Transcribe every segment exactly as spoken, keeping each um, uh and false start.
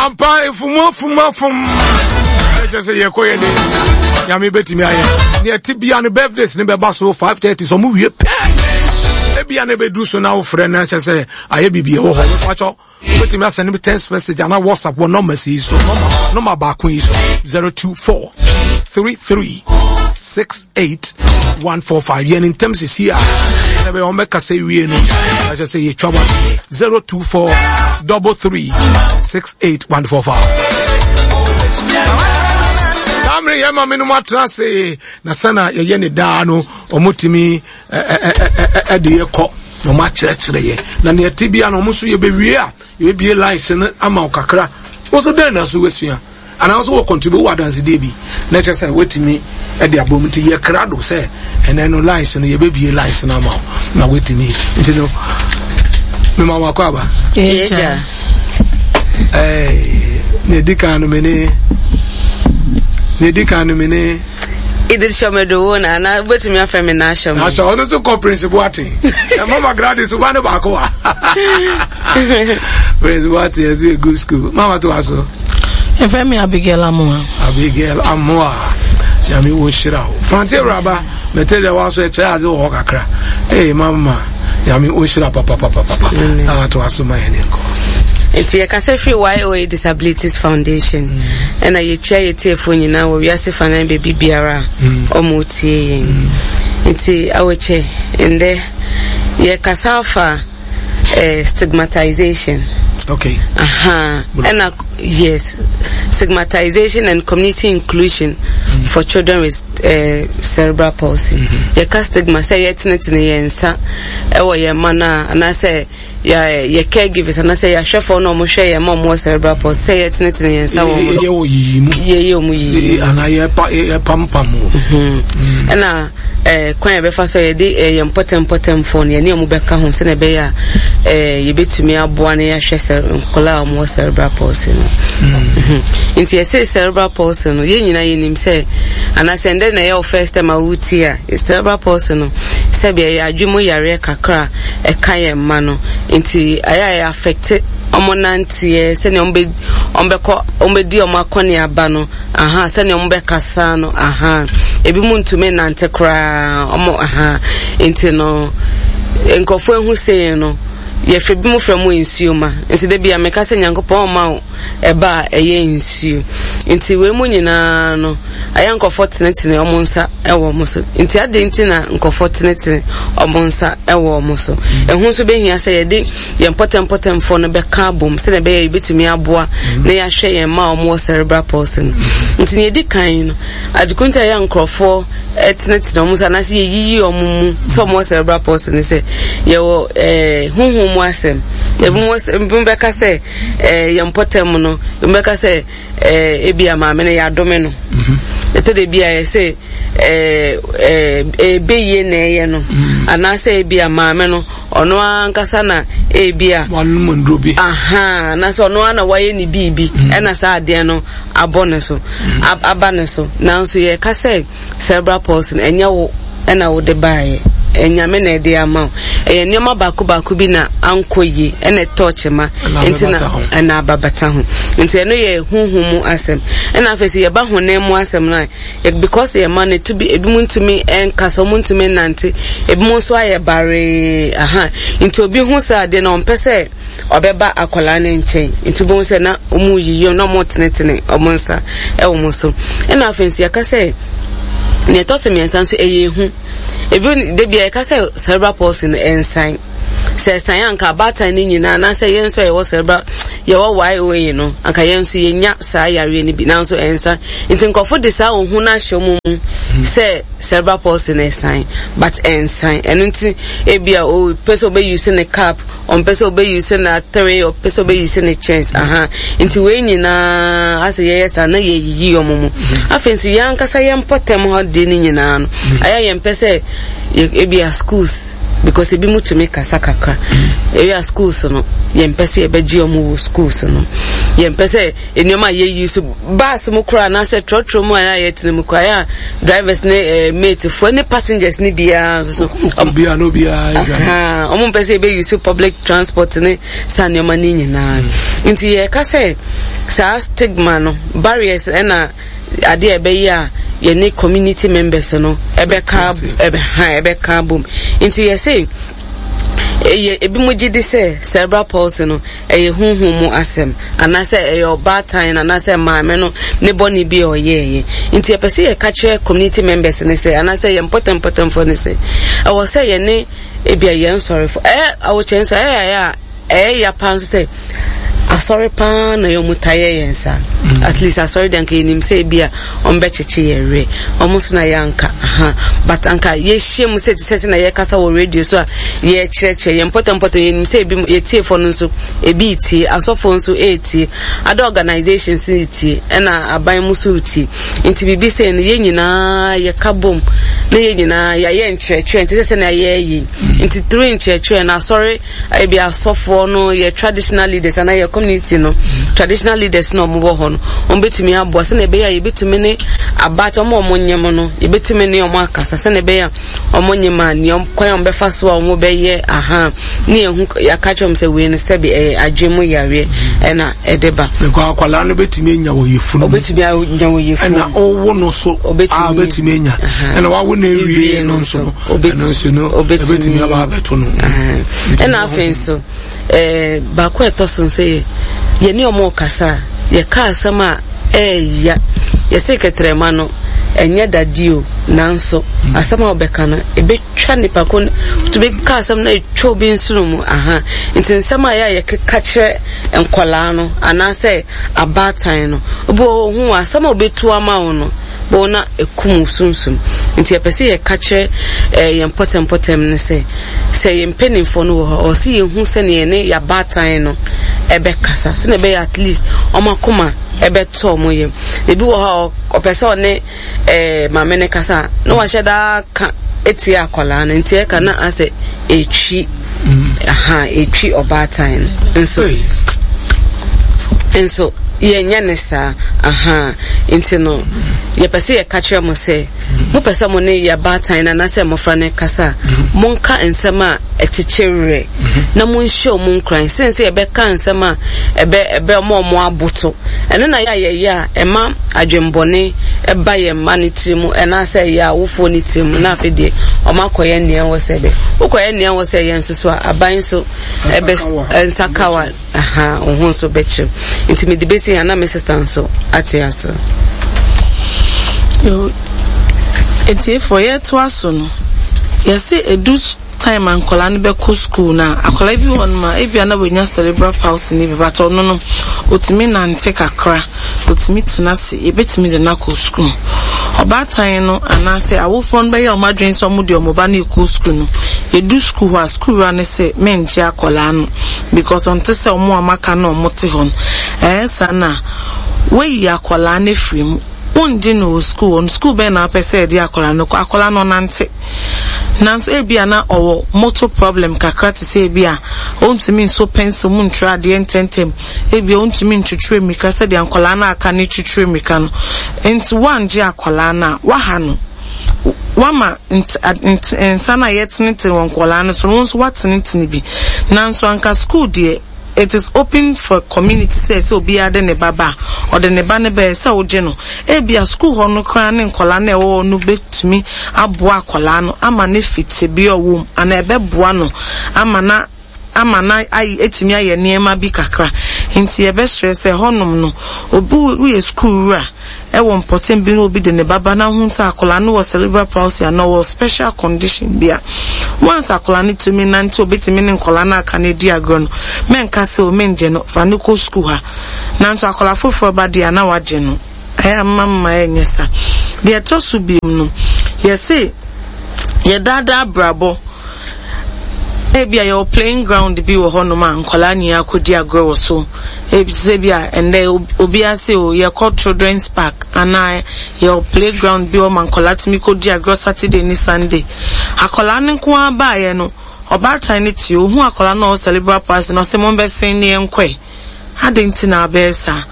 Ampa efumu afumu afum. Ɛkyɛ sɛ yɛkɔ yɛ de Nyame bɛtumi ayɛ. Neɛ ɛte bia no birthdays ne bɛba so five thirty sɛ ɔmo wie pɛ. Ebia na ɛbɛduru so na wofrɛ no kyɛ sɛ ayɛ biribi ɛwɔ hɔ. Mepakyɛw, wobɛtumi asɛne me text message anaa WhatsApp wɔ numbers yi so. Number baako yi so zero two four three three six eight one four five. Yɛn ntɛm sisi a ɛna bɛyɛ wɔn bɛkasa wie no ɛkyɛ sɛ yɛtwa wa zero two four double three six eight one four five. Saa mmere yɛn maame no mu atena ase na sɛna yɛyɛ ne daa no wɔn tumi ɛde yɛ kɔ na wɔn akyerɛkyerɛ yɛ na nea ɛte bia no wɔn nso yɛbɛwie a yɛbɛbie lines no ama wo kakra wɔn nso dɛn na so wɔasua anaa nso wɔ contribute wɔ adansedie bi na kyerɛ sɛ wɔatumi ɛde abɔ mu nti yɛ krado sɛ ɛnɛ no lines no yɛbɛbie lines no ama wo na wɔatumi nti no mema wakɔ aba ɛɛ na edi kan no mene na edi kan no mene Edith Shomedowo na ana wobɛtumi afrɛ me na ahyɛ me. Ahyɛ ɔno nso kɔ Prince Boateng. Mama Gladys wo ba ne baako wa. Prince Boateng ɛsɛ a good school. Mama to aso. Ɛfrɛ me Abigail Amoa. Abigail Amoa. Nyame wo nhyira wo. Fante awuraba mete deɛ wa so ɛkyerɛ adze wɔ hɔ kakra. Ee mama Nyame wo nhyira papapapapa. Na to aso ma yɛn nkɔ. Nti yɛkasa firi Y O A Disabilities Foundation ɛna yɛkyia yɛtiefoɔ nyinaa wɔ wiase fanan baabi biara a ɔmo tie yɛn. Nti awɔkyɛ ndɛ yɛkasa afa eh, stigmatization. Okay. Aha. Ɛna yes, stigmatization and community inclusion mm. for children with uh, cerebral palsy. Mm-hmm. Yɛka stigma sɛ yɛtenetene yɛn nsa ɛwɔ yɛn mma no a anaasɛ yɛ yɛ caregivers anaasɛ yɛahwɛfoɔ na wɔhwɛ yɛn ma wɔwɔ cerebral palsy sɛ yɛtenetene yɛn nsa wɔ wɔn yɛ wɔ yiyi mu yɛyɛ wɔn yiyi anaa yɛpa yɛpampam wɔ ɛna ɛɛ kwan yɛbɛfa so yɛde ɛɛ yɛn mpɔtɛmpɔtɛmfoɔ no yɛne wɔn bɛka ho sɛnea ɛbɛyɛ a ɛɛ yɛbɛtumi aboa na yɛahwɛ sɛ nkɔla a wɔwɔ cerebral palsy no nti yɛsɛ cerebral palsy no yɛn nyinaa yɛnim sɛ anaasɛ ndɛ na ɛyɛ wo first time a wotie a cerebral palsy no sɛbi ɛyɛ adwene mu yareɛ kakra a ɛka yɛn mma no nti ɛyɛ a ɛyɛ affect ɔmo nanteɛ sɛnea ɔmo bɛ ɔmo bɛkɔ ɔmo bɛdi ɔmo akɔneaba no aha sɛnea ɔmo bɛkasa no aha ebi mu ntumi nante koraa ɔmo aha nti no nkurɔfoɔ ehu sei no yɛfrɛ bi mu frɛ mu nsuo ma nso de bi a meka sɛ Nyankopɔn ɔma wo ɛba a ɛyɛ nsuo nti wei mu nyinaa no ayɛ nkurɔfoɔ tenetene ɔmo nsa ɛwɔ ɔmo so nti adi nti na nkurɔfoɔ tenetene ɔmo nsa ɛwɔ ɔmo so ɛho nso bɛhia sɛ yɛde yɛn mpɔtɛmpɔtɛmfoɔ no bɛka abom sɛdeɛ ɛbɛyɛ yɛbɛtumi aboa na yɛahwɛ yɛn mma a ɔmo wɔ cerebral palsy no nti nea yɛdi kan no adeko nti a yɛ nkurɔfoɔ ɛtenetene ɔmo nsa anaasɛ yɛyiyi ɔmo mu sɛ ɔmo wɔ cerebral palsy no sɛ yɛwɔ ɛɛ huhu mu asɛm ebi mu ebi bɛka sɛ ɛɛ yɛn mpɔtɛm no ebi bɛka sɛ ɛɛ ebi a maame no yɛadome no ɛtɔ de bi a yɛsɛ ɛɛ ɛɛ ebeyie na ɛyɛ no anaasɛ ebi a maame no ɔno ankasa na ebi a wanom nduro bi aha anaasɛ ɔno ara na wayɛ ne biribi ɛna saa adeɛ no abɔ ne so aba ne so nanso yɛka sɛ cerebral palsy no ɛnyɛ wo ɛna wode baayɛ ɛnyame na ɛde ama wo ɛyɛ nneɛma baako baako bi na ankɔ yie ɛna ɛtɔ kyema nti na ɛna ababata ho nti ɛno yɛ huhu mu asɛm ɛna afei sɛ yɛba honam mu asɛm no a because yɛ ma no etu bi ebi mu ntumi ɛnkasa ɔmo ntumi nnante ebi mu nso ayɛ baree aha nti obi hu sɛ adeɛ na ɔmpɛ sɛ ɔbɛba akwadaa ne nkyɛn nti bohu sɛ na ɔmo yiyi na ɔmo tenetene ɔmo nsa ɛwɔ ɔmo so ɛna afei nso yɛka sɛ nea ɛtɔ so mmiɛnsa nso ɛyɛ ehu ebi debi a yɛka sɛ cerebral palsy no ɛnsan sɛ ɛsan anka abaatan no nyinaa anaasɛ yɛn nso a yɛwɔ cerebral yɛwɔ Y O A no anka yɛn nso yɛnya saa yareɛ no bi nanso ɛnsan nti nkɔfo de saa ohun no ahyɛ wɔn mu sɛ cerebral palsy no ɛsan but ɛnsan ɛno nti ebi a o pɛ sɛ ɔbɛ use ne cap ɔmpɛ sɛ ɔbɛ use ne atere ɔpɛ sɛ ɔbɛ use ne chairs aha nti wei nyinaa asɛ yɛyɛ saa na yɛyiyi wɔn mu afei nso yɛn ankasa yɛn mpɔtɛm hɔ deɛ no nyinaa no ayɛ yɛn pɛ sɛ ebi a schools because ebi mu tumi kasa kakra ebi a schools no yɛn pɛ sɛ yɛbɛgye wɔn wɔ schools no yɛn pɛ sɛ nneɛma a yɛyi so bus mu koraa anaasɛ trɔtrɔ mu a yɛtena mu koraa yɛ a drivers ne ɛɛ mate foɔ ne passengers ne biara nso obiara no obiara ɔmo mpɛ sɛ yɛbɛyi so public transport ne saa nneɛma ne nyinaa nti yɛka sɛ Saa stigma no, barriers ɛna adeɛ a ɛbɛyɛ a yɛne community members no ɛbɛka ɛbɛha ɛbɛka bom. Nti yɛsɛ ɛyɛ ebi mo gye di sɛ cerebral palsy no ɛyɛ huhu mu asɛm, anaasɛ ɛyɛ ɔbaatan anaasɛ maame no ne bɔne bi a ɔyɛɛyɛ. Nti yɛpɛ sɛ yɛka kyerɛ community members ne sɛ, anaasɛ yɛn mpɔtɛmpɔtɛmfoɔ ne sɛ, ɛwɔ sɛ yɛne ebia yɛn sɔrefo ɛyɛ awokyɛn nso ɛyɛ ɛyɛ a ɛyɛ ya paa nso sɛ asɔre paa na yɛ ɔmo ta yɛ yɛn saa. At least asɔre deɛ, anka yɛnim sɛ ebi a ɔmo bɛkyekye yɛn werɛ, ɔmo nso na yɛ anka aha, but anka yɛhyia mu sɛ te sɛ sɛ na yɛkasa wɔ radio so a, yɛkyerɛkyerɛ yɛn mpɔtɛmpɔtɛ, yɛnim sɛ ebi yɛtiefoɔ no nso ebi tie, asɔfoɔ nso etie, other organizations tie, ɛna aban mu nso tie. Nti biribi sɛ no, yɛn nyinaa yɛka bom na yɛn nyinaa yɛayɛ nkyerɛkyerɛ, nti sɛ sɛ na yɛyɛ nti through nkyerɛkyerɛ na asɔre, ebi asɔfoɔ no, yɛ traditional leaders anaa yɛ community no traditional leaders na ɔmo wɔ hɔ no, ɔmo bɛtumi aboa sɛnea ɛbɛyɛ a yɛbɛtumi ne abaata ɔmo a ɔmo nyɛm no, yɛbɛtumi ne ɔmo akasa sɛnea ɛbɛyɛ a ɔmo nyɛm a nea kwan a ɔmo bɛfa so a ɔmo bɛyɛ aha ne yɛn ho, yɛaka kyerɛ ɔmo sɛ wei no, sɛbi, ɛyɛ adwene mu yareɛ ɛna ɛde ba. Because akwadaa no bɛtumi anya wɔ yɛfunu mu. Ɔbɛtumi anya wɔ yɛfunu. Ɛna ɔwɔ no so a ɔbɛtumi anya, ɛna wawo no awie no nso no, ɛno nso no ɛbɛtumi aba abɛto no. Ɛna afei nso ɛɛ baako a ɛtɔ so nso yɛ yɛne ɔmo kasa a, yɛka asɛm a ɛɛya, yɛsɛ kɛtɛrɛma no ɛnyɛ dade o, nanso asɛm a wɔbɛka no ɛbɛtwa nipa ko, tumi ka asɛm no ɛtwa obi nsono mu aha. Nti nsɛm a yɛ a yɛkeka kyerɛ nkɔlaa no anaasɛ abaatan no, obi wɔ hɔ asɛm a obetu ama wo no bɔn na ekum sunsum. Nti yɛpɛ sɛ yɛka kyerɛ ɛɛ yɛn mpɔtɛmpɔtɛm no sɛ sɛ yɛn mpanimfoɔ no wɔ hɔ, ɔwɔ sɛ yɛhu sɛnea yɛne yɛabaatan no ɛbɛkasa sɛnea ɛbɛyɛ at least ɔmo akoma ɛbɛtɔ ɔmo yam. Ebi wɔ hɔ a ɔpɛ sɛ ɔne ɛɛ maame ne kasa na wahyɛ daa ka etia akwadaa no, nti ɛka na asɛ etwi aha, etwi ɔbaatan no nso nso yɛnyɛ ne saa aha. Nti no yɛpɛ sɛ yɛka kyerɛ mo sɛ mopɛ sɛ mo ne yɛ baatan no anaasɛ mmɔfra no kasa a, monka nsɛm a ɛkyekyere werɛ na monhyɛ ɔmo nkuran sen sɛ yɛbɛka nsɛm a ɛbɛ ɛbɛ ɔmo ɔmo aboto. Ɛno na yɛ a yɛyɛ a ɛma adwembɔne ɛba yɛn mma no tiri mu ɛnaasɛ ɛyɛ awofoɔ no tiri mu, na afei deɛ ɔmo akɔyɛ nea ɛwɔ sɛ bɛ wokɔyɛ nea ɛwɔ sɛ yɛn nso so a, aban nso ɛbɛ nsakawa aha wo ho nso bɛkyerɛ. Nti mede bɛsi ha na me sister nso ate aso. Etiefoɔ, yɛtoa so no, yɛse edu time a nkɔlaa no bɛkɔ school na akɔlaa bi wɔ nom a ebia na wɔnya cerebral palsy ne bi, but ɔno no otumi nante kakra, otumi tena ase, yɛbɛtumi de no akɔ school. Ɔbaatan no anaasɛ awofoɔ no bɛyɛ ɔmo adwene sɛ ɔmo de ɔmo ba no ekɔ school no, yɛdu school hɔ a, school wura no sɛ mɛngye akɔlaa no because ɔnte sɛ ɔmo a maka na ɔmo te hɔ no. Ɛyɛ saa na wɔayi akɔlaa no afiri mu, wongye no wɔ school hɔ no. School bɛn na wapɛ sɛ yɛde akɔlaa no kɔ? Akɔlaa no ɔnante, nanso ebi a na ɔwɔ motor problem kakra, te sɛ ebi a ɔntumi nso pencil mu ntwerɛ adeɛ ntɛntɛm, ebi a ɔntumi ntwitwere mmirika sɛdeɛ nkɔlaa no aka ne twitwere mmirika no. Nti wangye akɔlaa no a, waha no, wama nsa no a yɛtenetene wɔ nkɔlaa no so no, wɔn nso watenetene bi. Nanso anka school deɛ, it is open for community sɛ sɛ obiara de ne ba ba a, ɔde ne ba ne bɛyɛ sɛ wogye no. Ebia school hɔ no koraa ne nkɔlaa no a ɛwɔ hɔ no bɛtumi aboa akɔlaa no ama ne fi tebea a ɔwɔ mu, anaa ɛbɛboa no ama na ama na ayi etumi ayɛ nneɛma bi kakra. Nti yɛbɛsrɛ sɛ hɔnom no, obi woyɛ school wura ɛwɔ mpɔtam bi na obi de ne baba na ho sɛ akwadaa no wɔ cerebral palsy anaa ɔwɔ special condition bi a, once akwadaa no tumi nante, obetumi ne nkwadaa no aka no adi agorɔ no, mɛnka sɛ o mɛngye no, fa no kɔ school ha. Nanso akwadaa foforɔ ba deɛ a, na wagye no, ɛyɛ ama mma ɛnyɛ sa. Deɛ ɛtɔ so biem no, yɛse yɛdaadaa abrabɔ. Ebi a yɛwɔ playing ground bi wɔ hɔnom a nkwadaa nyinaa akɔdi agorɔ wɔ so. Ebi sɛ bi a ɛndɛ obiara sɛ o yɛkɔ children's park anaa yɛwɔ playground bi wɔ ma nkwadaa tumi kɔdi agorɔ Saturday ne Sunday. Akwadaa no nko ara baeɛ no, ɔbaatan no tie ohun akwadaa no a ɔwɔ cerebral palsy na ɔsɛ mo bɛsɛn ne yɛn kɔɛ. Adi nti na abɛyɛ saa?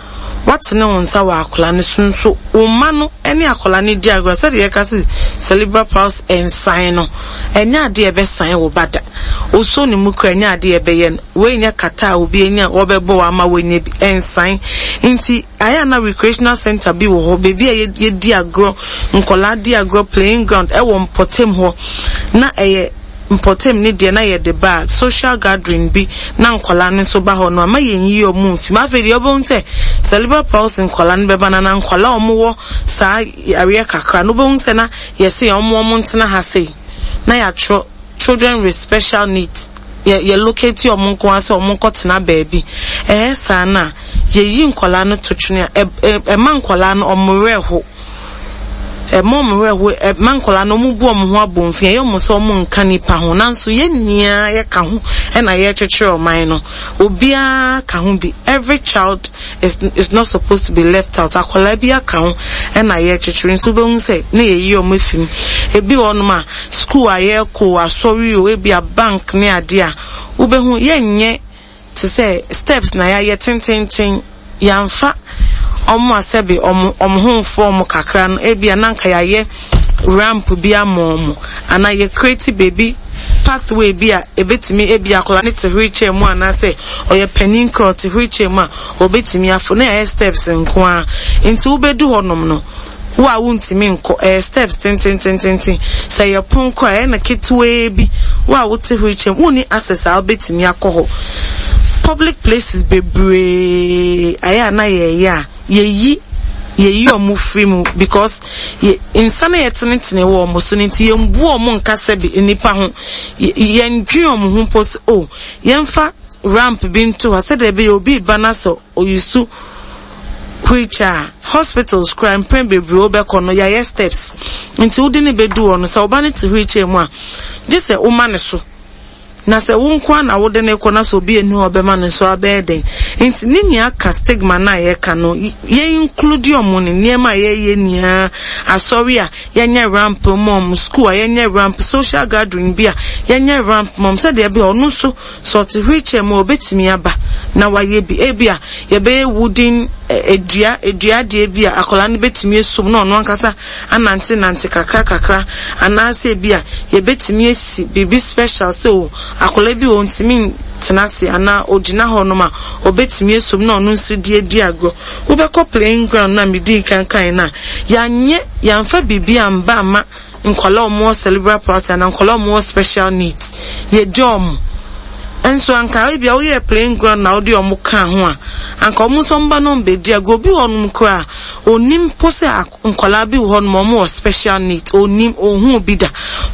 Watene wo nsa wɔ akwadaa no so nso, wo mma no ne akwadaa no di agorɔ. Sɛdeɛ yɛka sɛ cerebral palsy nsan no, ɛnyɛ adeɛ a ɛbɛsan wo ba da. Osuo ne mu kura, ɛnyɛ adeɛ a ɛbɛyɛ no. Wei nyɛ kata a obi anya wɔbɛbɔ wo ama woanya bi, ɛnsan. Nti ayɛ a na recreational center bi wɔ hɔ, baabi a yɛdi agorɔ, nkwadaa di agorɔ, playing ground ɛwɔ mpɔtam hɔ, na ɛyɛ mpɔtam ne deɛ na yɛde ba a social gathering bi na nkwadaa no nso ba hɔ no, ama yɛn yi ɔmo mfim. Afei deɛ, ɔbɛn sɛ cerebral palsy nkwadaa no bɛba na na nkwadaa a ɔmo wɔ saa yareɛ kakra no, wobɛhu sɛ na yɛsɛ ɔmo ɔmo ntena ha sei na yɛatwerɛ "children with special needs", yɛ yɛ locate ɔmo nko ara sɛ ɔmo nkɔtena baabi. Ɛyɛ saa na yɛyi nkwadaa no to twene a, ɛ ɛma nkwadaa no ɔmo werɛ ho, ɛma ɔmo werɛ ho, ɛma nkwadaa no ɔmo bu ɔmo ho abɔnfin, ɛyɛ ɔmo sɛ ɔmo nka nipa ho. Nanso yɛn nyinaa yɛka ho ɛna yɛrekyekyere ɔman no. Obiara ka ho bi. Every child is is not supposed to be left out. Akwadaa bi aka ho ɛna yɛrekyekyere. Nso wobɛhu sɛ ne yɛyi ɔmo efi mu. Ebi wɔ hɔnom a, school a yɛrekɔ, asɔre o, ebi a bank ne adeɛ a, wobɛhu yɛnyɛ te sɛ steps na yɛayɛ tententen. Yɛamfa ɔmo asɛbe ɔmo ɔmo ho mfo ɔmo kakra no, ebi a nanka yɛayɛ ramp bi ama ɔmo anaa yɛ create baabi, pathway bi a ebetumi, ebi akwadaa ne te wheelchair mu anaasɛ ɔyɛ panin kora ɔte wheelchair mu a, obetumi afo na yɛayɛ steps nko ara. Nti wobɛdu hɔnom no, wo a wontumi nkɔ, ɛyɛ steps tententententen. Sɛ yɛ pon kɔ a, ɛyɛ na ketewaa bi, wo a wote wheelchair mu, wonni access a wobɛtumi akɔ hɔ. Public places bebree ayɛ a na yɛyɛ a yɛyi yɛyi ɔmo firi mu because yɛ nsa na yɛtenetene wɔ ɔmo so no, nti yɛmbu ɔmo nkasa bi nipa ho. Yɛndwe ɔmo ho mpo sɛ o yɛmfa ramp bi nto hɔ sɛdeɛ ɛbɛyɛ obi ba na sɛ oyisu wheelchair. Hospitals kora, mpɛn bebree wobɛkɔ no, yɛayɛ steps, nti wode ne bɛdu hɔ no, sɛ ɔba no te wheelchair mu a, gye sɛ woma ne so, na sɛ wo nko na wode ne kɔ na sɛ obi enu a ɔbɛma no nso, abɛyɛ den. Nti ne nea ka stigma na yɛka no, yɛn include ɔmo ne nneɛma a yɛyɛ nyinaa. Asɔre a, yɛnyɛ ramp ma ɔmo. School a, yɛnyɛ ramp. Social gathering bi a, yɛnyɛ ramp ma ɔmo, sɛdeɛ ɛbɛyɛ ɔno nso sɛ ɔte wheelchair mu a, obetumi aba na wayɛ bi. Ebi a yɛbɛyɛ wooden edua edua adeɛ bi a akwadaa no betumi esum na ɔno ankasa anante nante kakra kakra, anaasɛ ebi a yɛbɛtumi esi biribi special sɛ o akwadaa bi wɔ ntumi tena ase anaa ogyina hɔ nom a, obetumi esum na ɔno nso di edi agorɔ. Wobɛkɔ playing ground na medi nkankan na yanyɛ, yɛnfa biribi amba ama nkwadaa a wɔwɔ cerebral palsy anaa nkwadaa a wɔwɔ special needs. Yɛgye wɔn nso anka ebi a woyɛ playing ground na wode wɔn ka ho a, anka wɔn nso mba na wɔn bɛdi agorɔ. Obi wɔ hɔnom koraa, onim po sɛ nkwadaa bi wɔ hɔnom wɔn wɔ special needs, onim, ohun bi da,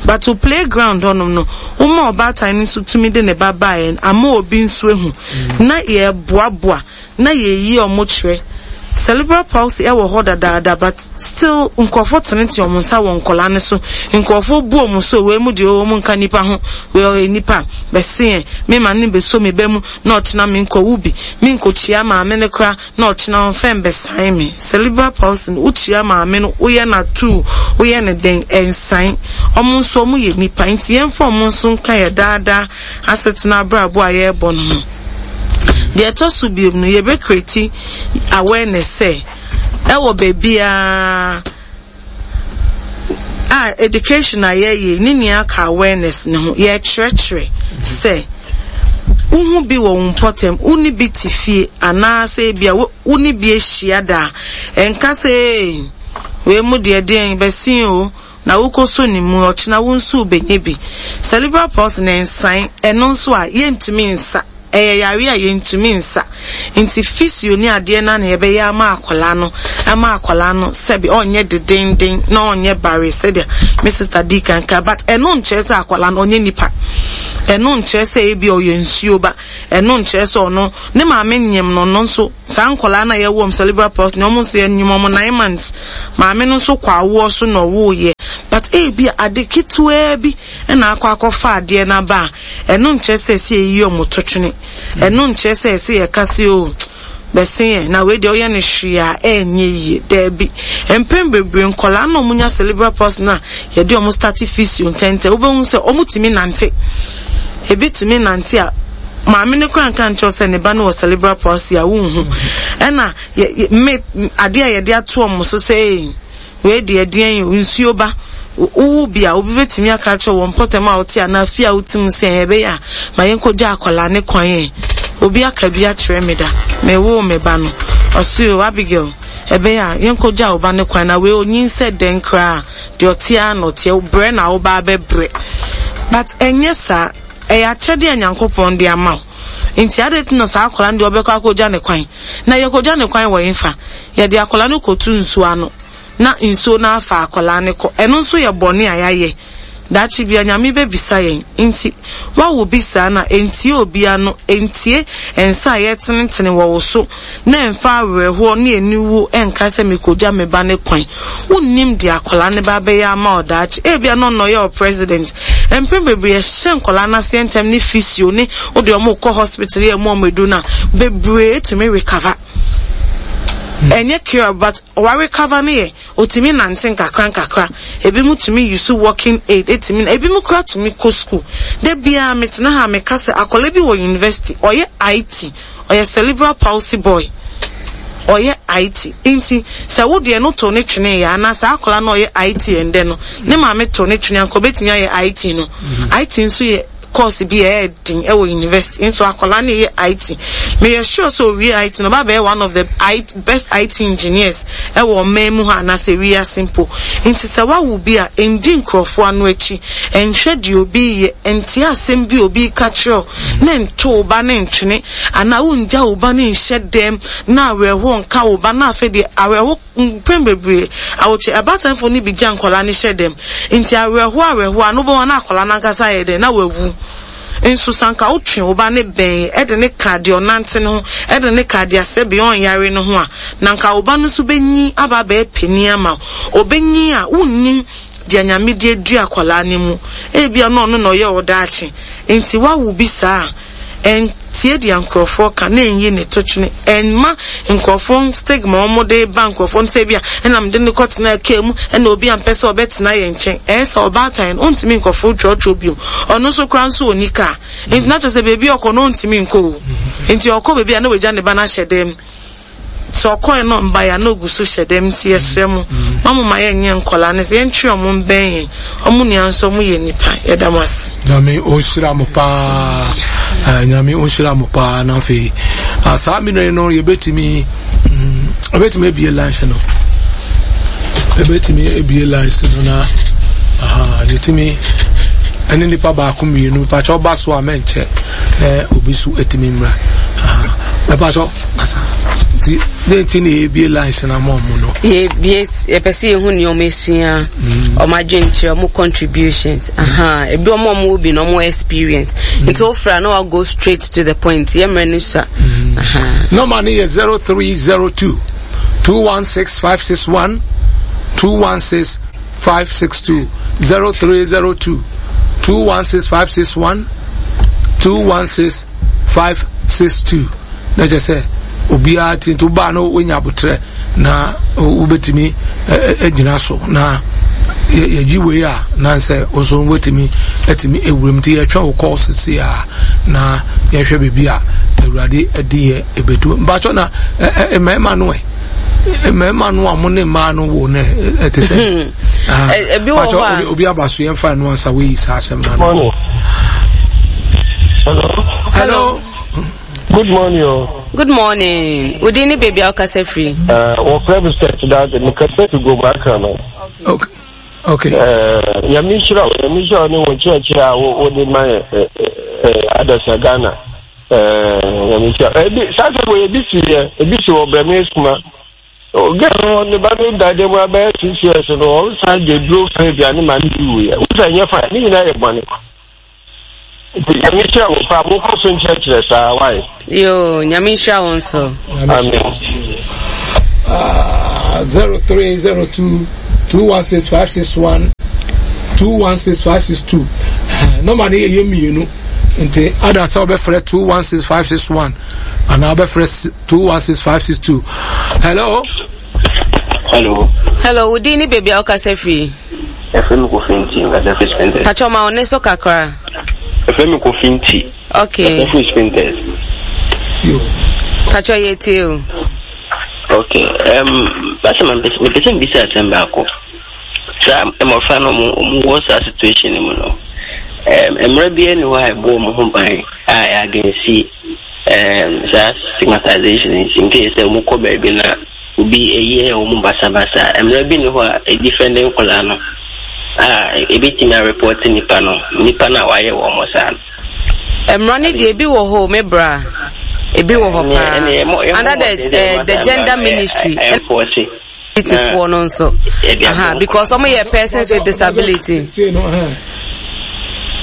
but o playground hɔnom no, wɔn a ɔbaatan no nso tumi de ne ba baeɛ ama obi nso ehu na yɛboaboa na yɛyi wɔn kyerɛ. Cerebral palsy ɛwɔ hɔ dadaada, but still nkurɔfoɔ tenetene wɔn nsa wɔ nkɔlaa no so. Nkurɔfoɔ bu wɔn so, wei mu deɛ, wɔn nka nipa ho, wei ɔyɛ nipa bɛsi yɛn mema ne bɛso mi bɛ mu na ɔkyena mi nkɔ wu bi mi nkɔkyia maame no kora na ɔkyena ɔnfɛn bɛsan mi. Cerebral palsy no, wokyia maame no, woyɛ na tu, woyɛ ne den, ɛnsan. Wɔn nso wɔn yɛ nipa, nti yɛmfa wɔn nso nka yɛ daadaa asetena abrabɔ a yɛrebɔ no ho. Deɛ ɛtɔ so biom no, yɛbɛ create awareness sɛ ɛwɔ baabiara a education a yɛyɛ ne nea ka awareness ne ho. Yɛkyerɛkyerɛ sɛ wohu bi wɔ wo mpɔtam, wo ne bi te fie anaasɛ ebi a wo ne bi ahyia da a, ɛnka sɛ ee wei mu deɛ deɛn bɛsi o na wokɔ so ne mu, ɔkyena wo nso wobɛnya bi. Cerebral palsy ne nsan, ɛno nso a yɛntumi nsa. Ɛyɛ yare a yɛntumi nsa, nti physio ne adeɛ na na yɛbɛyɛ ama akwadaa no, ama akwadaa no sɛbi ɔnyɛ dedenden na ɔnyɛ bare sɛdeɛ me sister di kankan. But ɛno nkyerɛ sɛ akwadaa no ɔnyɛ nipa, ɛno nkyerɛ sɛ ebi ɔyɛ nsuo ba, ɛno nkyerɛ sɛ ɔno ne maame nyim no. No nso saa nkwadaa na yɛwɔ mu cerebral palsy na ɔmo nso yɛ nyim ɔmo nine months, maame no nso kɔ awoɔ so na ɔwɔ yɛ, but ebi ade ketewaa bi ɛna akɔ akɔfa adeɛ n'aba a, ɛno nkyerɛ sɛ ɛsɛ yɛyi ɔmo to twene. Ɛno nkyerɛ sɛ ɛsɛ yɛka se o bɛse yɛn na wei deɛ ɔyɛ no hwee a ɛnyɛ yie. Daabi, mpɛn bebree nkɔlaa na ɔmo nya cerebral palsy na yɛde ɔmo start physio ntɛntɛn, wobɛhu sɛ ɔmo tumi nante, ebi tumi nante a Maame no koraa nka nkyerɛ wo sɛ ne ba no wɔ cerebral palsy a, wonhu. Ɛna yɛ, yɛ, me, adeɛ a yɛde ato wɔn so sɛ, ei, wei deɛ ɛdeɛn o, nsuo ba. Wowo bi a, obi bɛtumi aka akyerɛ wo wɔ mpɔtam a wote anaa fie a wote mu sɛ, ɛɛ, ɛbɛyɛ a, ma yɛnkɔgya akwadaa no kwan ɛ. Obi aka bi akyerɛ me da. Mewoo me ba no, ɔse o, Abigail, ɛbɛyɛ a, yɛnkɔgya wo ba no kwan na wei ɔnyin sɛ dɛn koraa a, deɛ ɔte ara na ɔteɛ, brɛ na wo ba abɛbrɛ. But ɛnyɛ saa. Ɛyɛ akyɛdeɛ a Nyankopɔn de ama wo. Nti adɛn nti na saa akwadaa no deɛ ɔbɛkɔ akɔgya ne kwan? Na yɛkɔgya ne kwan wɔ hefa? Yɛde akwadaa no kɔto nsuo ano na nsuo no afa akwadaa no kɔ. Ɛno nso yɛ bɔne a yɛayɛ. Daakye biara Nyame bɛbisa yɛn. Nti woawo bi saa no a, ɛntie obi ano, ɛntie nsa a yɛtenetene wɔ wo so, na ɛmfa awerɛhoɔ ne aniwuo ɛnka sɛ mekɔgya me ba no kwan. Wonnim deɛ akwadaa no ba bɛyɛ ama wo daakye. Ebia na ɔno na ɔyɛ wo president. Mpɛn bebree yɛhyɛ nkwadaa no aseɛ ntɛm ne physio ne wode wɔn rekɔ hospital yɛ mu wɔn aduro no a, bebree tumi recover. Ɛnyɛ cure but wa recover no yɛ otumi nante nkakra nkakra. Ebinom tumi use walking aid etumi na ebinom koraa tumi kɔ school. Da biara metena ha a meka sɛ akwadaa bi wɔ university ɔyɛ I T, ɔyɛ cerebral palsy boy, ɔyɛ I T. Nti sɛ wo deɛ no to ne twene yɛ anaa saa akwadaa no ɔyɛ I T ɛndɛ no ne maame to ne twene anka obetumi ayɛ I T no. I T nso yɛ course bi a ɛyɛ den ɛwɔ university, nso akwadaa no yɛ I T. Meyɛ sure sɛ owie I T no, ɔba bɛyɛ one of the I T, best I T engineers ɛwɔ ɔman mu ha anaasɛ wiase mpo. Nti sɛ wawo bi a, ndi nkurɔfoɔ ano akyi, nhwɛ deɛ obi yɛ, ntie asɛm bi obi ka kyerɛw na nto wo ba ne ntwene anaa wongya wo ba ne nhyɛ dɛm na awerɛhoɔ nka wo ba. Na afei deɛ awerɛho mpɛn bebree awotwe ɛbatanfo no bi gya nkwadaa no hyɛ dɛm, nti awerɛhoɔ awerɛhoɔ a no bɛwɔ na akwadaa no ankasa yɛ dɛn na wawu. Nso sanka wotwe wo ba ne bɛn ɛde ne ka deɛ ɔnante no ho, ɛde ne ka deɛ asɛ bea ɔnyare no ho a, na nka wo ba no nso bɛnyi aba abɛyɛ panin ama wo. Ɔbɛnyi a, wonnim deɛ Nyame de adua akwadaa no mu. Ebia na ɔno na ɔyɛ wo daakye. Nti wawo bi saa a, ɛntie deɛ nkurɔfoɔ ka na ɛnyi ne to twene. Ɛnma nkurɔfoɔ stigma wɔn de ba nkurɔfoɔ no sɛ ebia ɛna mede ne kɔtena kaa mu ɛna obi ampɛ sɛ ɔbɛtena yɛn nkyɛn. Ɛyɛ sɛ ɔbaatan no ɔntumi nkɔfo trɔtrɔ bio. Ɔno nso koraa nso ɔni kaa, nti na kyerɛ sɛ beebi ɔkɔ no ɔntumi nkɔ o. Nti ɔkɔ beebi a, na wagya ne ba no ahyɛ dɛm. Sɛ ɔkɔɛ no mba ya na ogu so hyɛ dɛm. Nti yɛsrɛ mo, ma mo ma yɛnyɛ nkɔlaa no sɛ yɛntwe ɔmo mbɛn yɛn, ɔmo nua nso ɔmo yɛ nipa. Yɛda mo ase. Nyame ɔnhyira mo paa. Eh, Nyame ɔnhyira mo paa. Na afei ah, saa mmerɛ no yɛbɛtumi mm, yɛbɛtumi abie lines no, yɛbɛtumi abie lines no na aha, yɛtumi ɛne nipa baako mmienu. Mpakyɛ ɔba so a mɛnkyɛ na obi so atumi mmra. Mpakyɛ asa nti ne nti na yɛbie lines no ama ɔmo no. Yɛbie, yɛpɛ sɛ yɛhu nea ɔmo esua, ɔmo adwenkyerɛ, ɔmo contributions, aha, ebi ɔmo a ɔmo wɔ bi na ɔmo experience. Nti wofra na wa go straight to the point. Yɛ mmerɛ no sua. Aha. Number no yɛ zero three zero two two one six five six one, two one six five six two. zero three zero two two one six five six one, two one six five six two. Na kyerɛ sɛ obiara ti nti wobaa no wonya abotrɛ na wobɛtumi agyina so na yɛgye wei a na sɛ wo nso wobɛtumi atumi awuram. Nti yɛtwɛn wo kɔɔ sese a na yɛhwɛ baabi a Awurade adi yɛ ɛbɛdu. Mpakyɛ na mmarima no ɛ mmarima no a mo ne mmaa no wo no ɛte sɛ Ebi wɔ hɔ a obi aba so, yɛmfa no ansa woyi saa asɛm no ano. Hello. Hello. Good morning o. Good morning. Wodi ne baabi a wokasa firi? Uh, wɔfrɛ me Seth Dade, mekasa fi Goma Akra no. Okay. Okay. Uh, Nyame nhyira wo, Nyame nhyira wo ne wo nkyerɛkyerɛ a wode ma yɛ adasa Ghana. Nyame nhyira. Ebi saa sɛ wɔ ebi si yɛ, ebi si wɔ Brɛme Esuma. Girl no ne ba no da dɛm abɛyɛ six years no, ɔsan de duro fɛ aduane ma ne bi wuyɛ. Wosa nyɛ fine, ne nyinaa yɛ bɔne. Nti Nyame nhyira wo paa, mokɔ so nkyerɛkyerɛ saa, wae. Yo, Nyame nhyira wo nso. Amen. Zero three zero two two one six five six one, two one six five six two. Nɔmba no yɛ yɛ mmienu, nti ada sɛ wobɛfrɛ two one six five six one anaa wobɛfrɛ two one six five six two. Hello. Hello. Hello, wodi ne baabi a wokasa firi? Ɛfrɛ me Kofi Nti, nkasa firi Spintex. Pakyɛ ma wo ne so kakra. Ɛfrɛ me Kofi Nti. Okay. Kasa firi Spintex. Patro, yɛtie o. Okay. Um, basa ma mepɛ sɛ mbisa asɛm baako. Saa mmɔfra no ɔmo ɔmo wɔ saa situation no mu no, um, mmerɛ biara ni hɔ a ɛbɔ ɔmo ho ban a ɛyɛ against um, saa stigmatization nti, in case sɛ ɔmo kɔ baabi na obi ɛyɛ ɔmo basabasa, mmerɛ bi ni hɔ a ɛdefend nkɔlaa no a ebetumi areport nipa no nipa no a wayɛ wɔn saa no? Mmara no deɛ, ebi wɔ hɔ o, me bra, ebi wɔ hɔ paa under the uh, the gender ministry. Enforce. Foɔ no nso aha, because ɔmo yɛ persons with disability.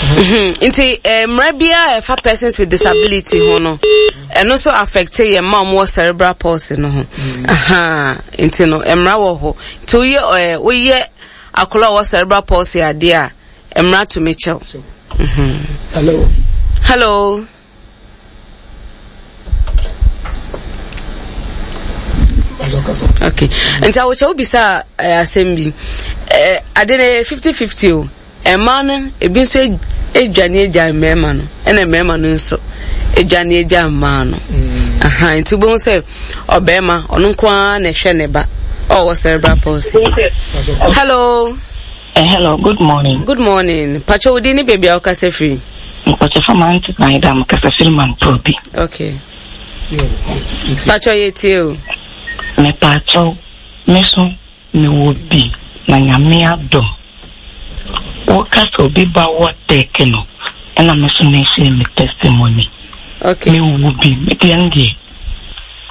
Mhm. nti eh, mmara biara a ɛfa persons with disability ho no, ɛno nso affect yɛn mma a wɔwɔ cerebral palsy no ho. Aha, nti no mmara wɔ hɔ, nti woyɛ ɛɛ woyɛ akwadaa a ɔwɔ cerebral palsy adeɛ a, mmara tumi kyɛw. Hello. Hello. Okay, nti awokyɛ wobisa eh, asɛm bi, eh, ade no yɛ fifty fifty o. Mmaa no ebi nso adwane agya mmarima no, ɛna mmarima no nso adwane agya mmaa no. Aha, nti wobɛhu sɛ ɔbarima ɔno nko ara na ɛhwɛ ne ba ɔwɔ cerebral palsy. Hello. Uh, hello, good morning. Good morning. Patro, wo din ne baabi a wokasa firi? Mpɔkyɛ fa mante na ɛda mo kasa firi Mamprobi. Okay, patro, yɛtie o. Mepaakyɛw, me so mewɔ bi na Nyame adom. Woka sɛ obi ba wɔ tech no, ɛna me so mehyɛ me testimony. Okay. Mewɔ bi, medeɛ no deɛ,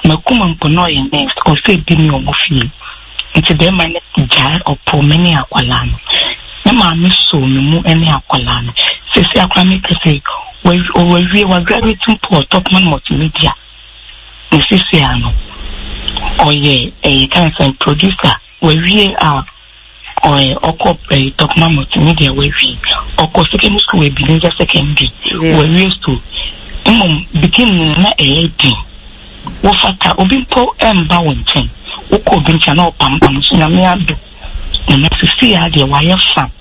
makuma mpo na ɔyɛ nurse, ɔsɛ bi ne ɔmo fie. Nti bɛrima no gyae ɔpo me ne akwalaa no. Ne maame soo me mu ne akwalaa no. Sɛsi akora meka sɛ, wawie, wagraduate mpo wɔ Topman Multimedia. Na sisi a no, ɔyɛ ɛyɛ kan sɛ producer, wawie a ɔyɛ ɔkɔ ɛyɛ Topman Multimedia wawie. Ɔkɔ secondary school, Ebenezer Secondary. Yeah. Wawie school. Mmom beginning no na ɛyɛ den. Wofata obi mpo ɛmba wo nkyɛn. Wokɔ obi nkyɛn na ɔpampam so. Nyame adom. Na sisi a deɛ, wayɛ fine.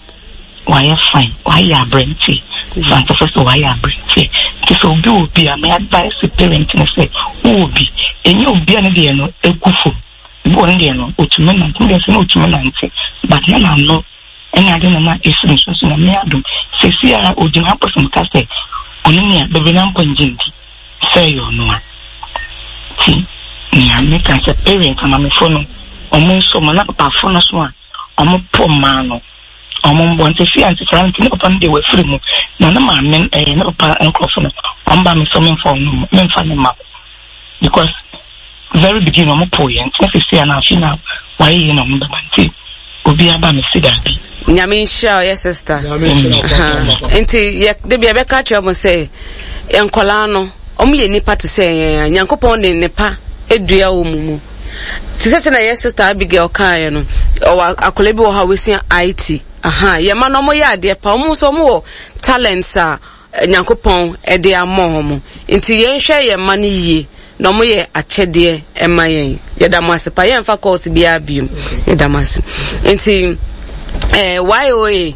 Wayɛ fine. Wayɛ aberanteɛ. Fantafo sɛ wayɛ aberanteɛ. Nti sɛ obi wɔ bi a, my advice to parent ne sɛ wowɔ bi. Ɛnyɛ obi a ne deɛ no egu fam. Ebi wɔ ne deɛ no, otumi nante. Ne deɛ sɛ na otumi nante. But na n'ano ɛne ade na na esi ne so nso, Nyame adom. Sisi a ogyina hɔ pɔsɛm ka sɛ ɔno nea bebree na mpɔ ngye ndi sɛ ɛyɛ ɔno a. Nti nea meka sɛ parent amamefo no, ɔmo nso ɔmo na papafo no so a ɔmo po mmaa no, ɔmo mbɔ. Nti si a nti saa nti ne papa no deɛ wafiri mu, na ne maame ɛyɛ ne papa nkorɔfo no, ɔmo ba mi sɛ ɔmo ɔno memfa ne ma, because very beginning ɔmo po yɛn. Nti na sisi a na afi na wayɛ yie na ɔmo bɛba, nti obi aba mi si daabi. Nyame nhyira ɔyɛ sister. Nti yɛ de bi ɛbɛka kyerɛ mo sɛ nkɔlaa no, ɔmo yɛ nipa te sɛ yɛn a Nyankopɔn de nipa edua wɔ mu mu te sɛ sɛ na yɛ Sister Abigail kaeɛ no, ɔwɔ akɔla bi wɔ hɔ a wɔsua I T. Aha, yɛ ma no, ɔmo yɛ adeɛ pa, ɔmo nso ɔmo wɔ talents a Nyankopɔn ɛde ama ɔmo, nti yɛnhwɛ yɛn mma no yie na ɔmo yɛ akyɛdeɛ ɛma yɛn. Yɛda mo ase pa. Yɛnfa course biara biom, yɛda mo ase. Nti ɛɛ Y O A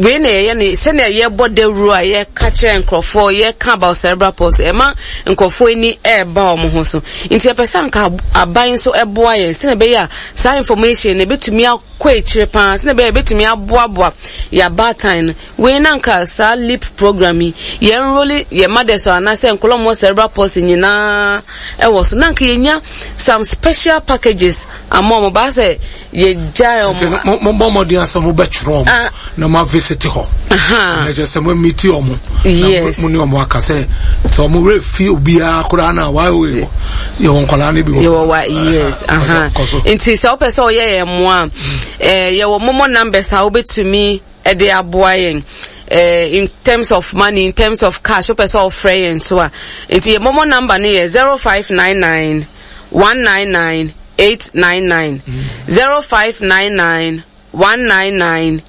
wei na yɛyɛ ne sɛnea yɛbɔ dawuro a yɛka kyerɛ nkurɔfoɔ, yɛka about cerebral palsy, ɛma nkurɔfoɔ ani ɛɛba wɔn ho so. Nti yɛpɛ sɛ anka aban nso ɛboa yɛn sɛnea ɛbɛyɛ a saa information no ebɛtumi akɔ akyire paa, sɛnea ɛbɛyɛ ebɛtumi aboaboa yɛ abaatan no. Wei na nka saa LEAP program yi, yɛn enroll yɛ mothers anaasɛ nkɔlɔ mo cerebral palsy nyinaa ɛwɔ so, na nka yɛnya some special packages ama wɔn baa sɛ yɛgyae wɔn. Mo bɔ mmɔden asɛ mo bɛtwerɛ wɔn na mo avisit hɔ na kyerɛ sɛ mo meet wɔn. Yes. Na mo ne wɔn aka sɛ sɛ wɔn werɛ fi obiara koraa na wayɛ wɔ yɛwɔ nkwadaa no bi wɔ. Yɛwɔ wa, yes. Nti sɛ wopɛ sɛ ɔyɛ yɛn mmoa a, yɛwɔ momo numbers a wobɛtumi ɛde aboa yɛn uh, in terms of money, in terms of cash. Wopɛ sɛ ɔfrɛ yɛn so a, nti yɛ momo number no yɛ zero five nine nine one nine nine eight nine nine, zero five nine nine one nine nine.